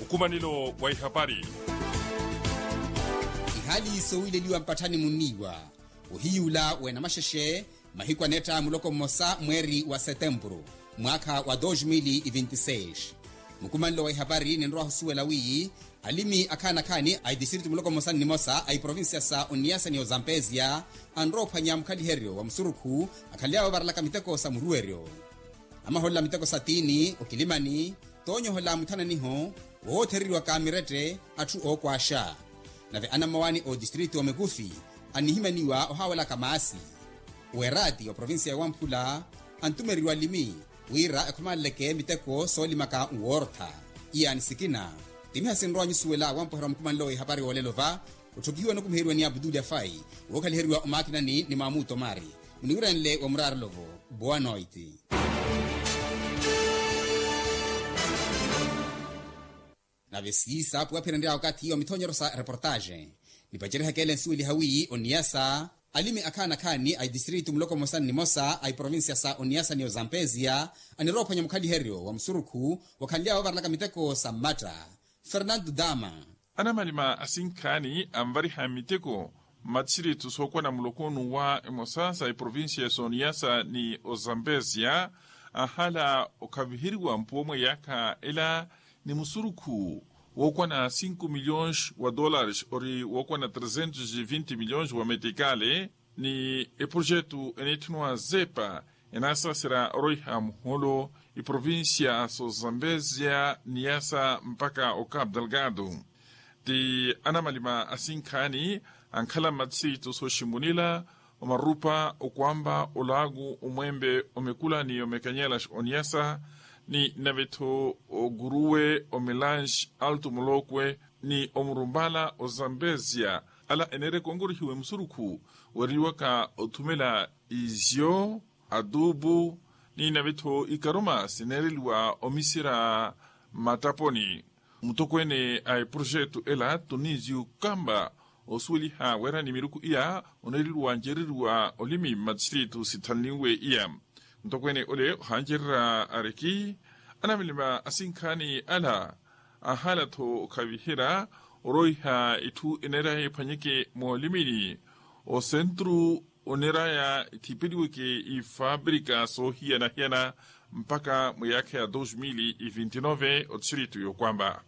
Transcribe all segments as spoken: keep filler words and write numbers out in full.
Nkumanelo wa ihapari. Ihaali sowiileliwa mpatthani munniiwa ohiyuula weenamaxexe mahiku anetta muloko mmosa mweeri wa setempuru mwaakha wa dos mil e vinti seis. Mukumanelo wa ihapari ninrowa ohusuwela wiiyi alimi akhaani akhaani a itistritu muloko mmosa nnimosa a iprovincia sa oniyasa ni ozampesia anrowa ophwanya mukhaliheryo wa musurukhu akhaly'awe ovaralaka miteko sa muruweryo. Amaholela miteko sa tiini okilimani toonyoholela muthananiho woothereriwaka mirette atthu ookwaaxa. Nave anammawaani otistritu omikufi annihimaniwa ohaawelaka maasi. Weeraati wa provincia ya wamphula antumeriwa alimi wira ekhomaleleke miteko soolimaka nwoortha. Iyaani sikina timiha sinrowa nyusuwela wampweherwa mukumanelo wa ihapari woolelo va otthokihiwa nikumiheryiwa ni abuduli afai wookhaliheriwa omaakinani ni maamuto mari muniwiranle wa muraarolovo. Boa noite. Nave siisa puwaphiranrya wakathi wa mithonyero sa reportaxe nipacerihaka ele nsuweliha wi oniyasa alimi akhaani akhaani a itistritu muloko mmosa nnimosa a iprovincia sa oniyasa ni ozampesia aniroophwanya mukhaliheryo wa musurukhu wakhanly'awe ovaralaka miteko sa mmatta. Fernando dama. Anamalima asinkhaani anvariha miteko mmattiritu sookwana muloko nuwa emosa sa iprovincia soniyasa ni ozampesia anhala okhaviheriwa mpuwo mwa iyaakha ela ni musurukhu wookwana cinco milhões wa dólares ori wookwana trezentos e vinte milhões wa metikale ni eprojetu eniitthuniwa zepa enaasaserya oroiha muholo iprovincia sozambesia niyasa mpaka ocapo delgado. Ti anamalima asinkhaani ankhala mmattiritu sooximunila omarupa okwamba olaaku omwempe omekula ni omekanyela oniyasa ni nave-tho okuruwe omelange alto molokwe ni omurumpala ozambesia ala eneerya konkorihiwa emusurukhu weeriwaka othumela izyo atupu ni nave-tho ikaruma sineereliwa omisira mmattaponi. Mutokweene a eprojetu ela tunizyu kamba osuweliha weerani miruku iya oneereliwa ncereriwa olimi mmattiritu sithanliwe iya. Mutokweene ole ohancererya ariki anamilima asinkhaani ala anhala-tho okhaviherya oroiha itthu eneeraya ephwanyeke moolimini osentru oneeraya ethipeliweke ifabrika soohiyana-hiyana mpaka mwa iyaakha ya dos mil e vinte nove othiritu yokwamba.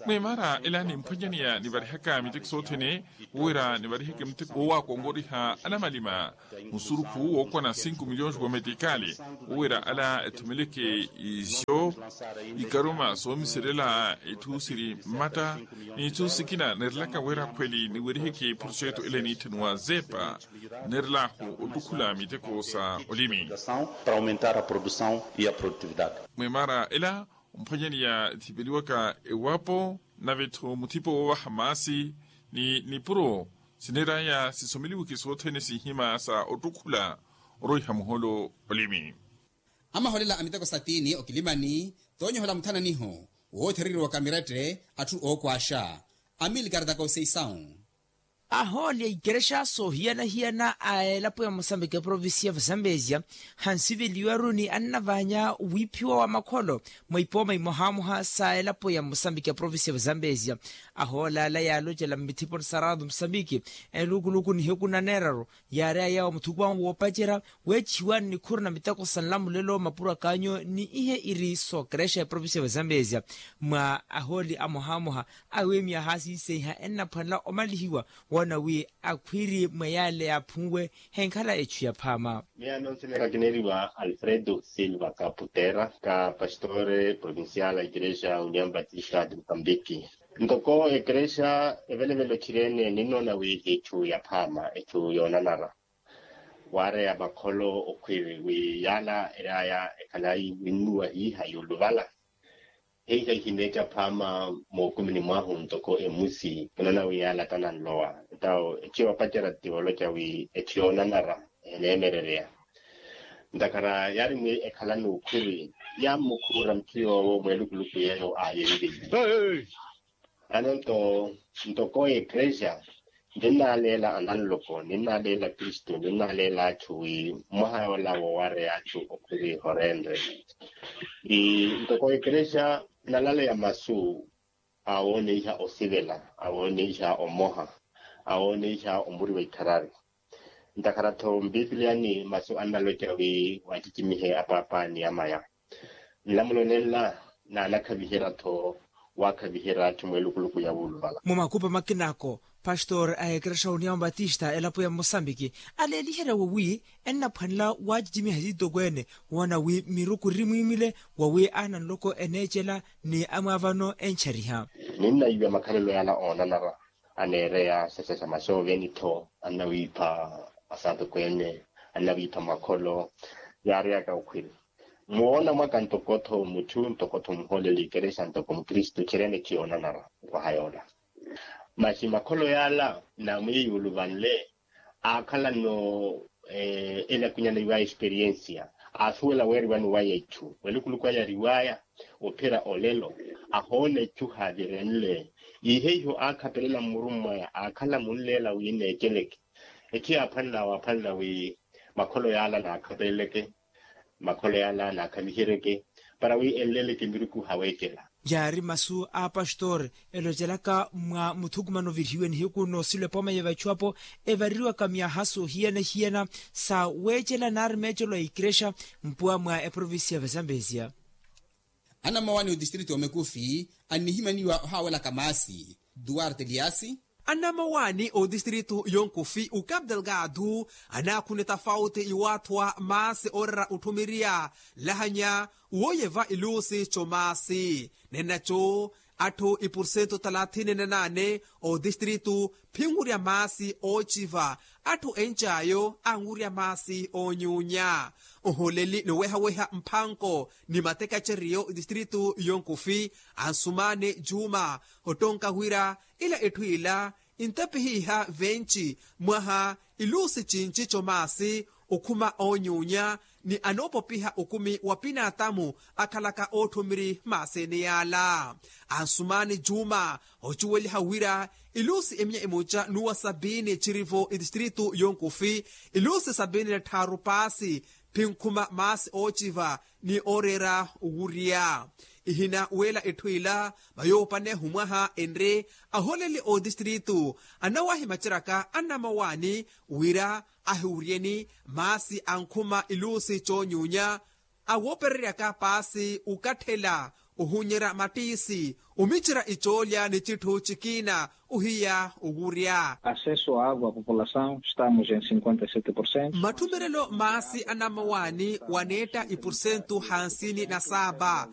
Mwimaara ela nimphwanyaneya nivarihaka miteko sothene wira nivariheke miteko woowakonkoriha anamalima musurukhu wookwana cinco milhões wa metikali wira ala ethumeleke izo ikaruma soomiserela itthu siri mmatta ni itthu sikina neerelaka wira khweli niweriheke projetu ele niitthaniwa zepa neerelaho ottukhula miteko sa olimi. Para aumentar a produção e a produtividade. Mwimaara ela omphwanyaneya ethipeliwaka ewapo nave-tho muthipo woovaha maasi ni nipuro sineeraya sisomeliweke sothene sinhima sa ottukhula oroiha muholo olimi. Amaholela a miteko sa tiini okilimani toonyoholela muthananiho woothereriwaka mirette atthu ookwaaxa amilkar da conceição. Ahooli a ikerexa soohiyana-hiyana a elapo ya mosambiki eprovincia ya vazambezia hansiveliwaru ni annavaanya wiiphiwa wa makholo mwa ipooma imohamoha sa elapo ya mosambiki eprovincia ya vazambezia. Ahooli ala yaalocela mmithiponi sa rato mosambiki elukuluku nihiku naneeraru yaareya yawo muthukuwanku woopacerya weechihiwa nnikhuru na miteko sa nlamulelo mapuro akaanyo ni ihe iri sookerexa eprovincia ya vazambezia mwa ahooli amohamoha awiimiya haasiiseiha ennaphwanela omalihiwa woona wi akhwiiri mwa yaale yaaphunwe henkhala echu ya phaama. Miyo anonseneka kineeriwa alfredo silva kaputera ka pastore provincial a ikerexa union batista de mosambiki. Ntoko ekerexa evelevele ochireene ninnoona wi hichu ya phaama echu yoonanara waareya makholo okhwiiri wi yaala eraya ekhalayi winnuwa hiiha yuuluvala hiiha ihineeca phaama mookumini mwahu ntoko emusi kinoona wi yaala tananlowa. Etawo echu yoopacerya ti oloca wi echu yoonanara eneemerereya ntakhara yaari mwi ekhala n'ukhuri yammukhuura muthu yoowo mweelukuluku yeeyo aayenliye. Ano nto ntoko ekerexa ninnaaleela ananloko ninnaaleela kristu ninnaaleela achu wi mwaha yoola woowareya achu okhuri horenre. Ntoko ekerexa nalaleya masu awooneiha osivela, awooneiha omoha, awooneiha omuriwa ikharari. Ntakhara-tho mpipiliyani masu annaloca wi waacicimihe apaapa ni amaya. Nlamulo nenla naanakhaviherya-tho waakhaviherya atthu mwelukuluku ya wuuluvala. Mumakupa makinako, pastor a ekerexa uniyawa batista elapo ya mosambiki aleeliherya wowi ennaphwanela waacicimiha titokweene woona wi miruku iri mwiimile wowi aana nloko eneecela ni amwaavano enchariha. Ninnaiwa makhalelo yaala oonanara aneereya sasasa masooveni-tho annawiipha asatokweene, annawiipha makholo. Yaariyaka okhwiri muwoona mwaka ntoko-tho mutthu ntoko-tho muhooleli ekerexa ntoko mukristu txerene ciyoonanara. Okwaha yoola masi makholo yaala naamwiye yuuluvanle aakhalano elakunyana iwaya experiensia aasuwela weeriwani waya itthu welukuluku aya ariwaya. Ophira olelo ahoona itthu haavirenle. Ihe iho aakhapelela mmurummwaya aakhala munleela wi neeceleke. Ethi yaaphwanelawo aphwanela wi makholo yaala naakhapeleleke makholo yaala naakhaviheryeke para wi enleleke miruku haweecela. Yaari masu a apastori elocelaka mwa muthukumano virihiwe nihiku noosilo epooma ya vachu apo evareriwaka myaha soohiyana-hiyana sa weecela nari meecelo a ikerexa mpuwa mwa eprovincia ya vazambezia. Anamawani otistrito omekufi annihimaniwa ohaawelaka maasi duarte liasi. Anamawani otistrito yonkufi ukapu delgado anaakhuna etafauti iwaathuwa maasi oorera otthumiriya nlahanya wooyeva iluusi comaasi nennaco atthu ipursentu talathini na naane otistrito phinwurya maasi oociva atthu encayo anwurya maasi oonyuunya oholeli ni owehaweha mphanko ni matekaceriyo itistrito yonkufi ansumaani juma ottonka wira ila etthu ila intapihiha venci mwaha iluusi cinci comaasi okhuma oonyuunya ni anoopopiha okumi wa pinaatamu akhalaka ootthumiri maasi ene yaala ansumaani juma ocuweliha wira iluusi emiya emoca n'uwa sabiini cirivo itistrito yonkufi iluusi sabiini na tthaaru paasi phinkhuma maasi oociva ni ooreera owurya ihina weela etthu ila vayoopane humwaha enre ahooleli otistrito anawahimaceraka anamawaani wira ahiwuryeni maasi ankhuma iluusi coonyuunya awoopereryaka paasi ukatthela ohunyerya mattiisi omicerya icoolya ni citthu cikiina ohiya owurya. Acesso a agua a populasaw estamos en cinquenta e sete porcento. Matthummerelo maasi anamawaani waneetta ipursentu hansini na saapa